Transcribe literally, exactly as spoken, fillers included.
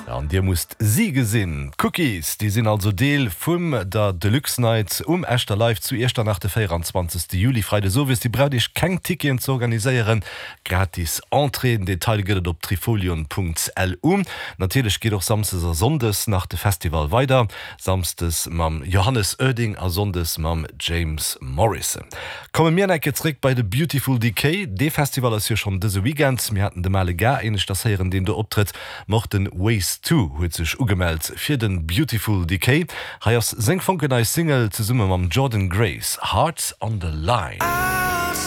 An dir musst si gesinn. D'Cookies, déi sinn also Deel vum der Deluxe Night um Echter Live zu Iechternach de véierundzwanzegste Juli, Freides owes. Dir braucht iech keng Ticketen ze organiséieren, gratis Entrée. Den Detail gëtt et op trifolion.lu. Natierlech geet och Samsdes a Sonndes nach de Festival weider, Samsdes mam Johannes Oerding a Sonndes mam James Morrison. Komme mir nach eng Kéier zréck bei de Beautiful Decay. Dee Festival ass jo schonn dëse Weekend. Mir haten de Male Gars éineschters héieren, deen do optrëtt. Ma och de Ways Two huet sech ugemellt fir de Beautiful Decay. Hei ass seng fonkelnei Single zesumme mam Jordan Grace, Hearts on the Line.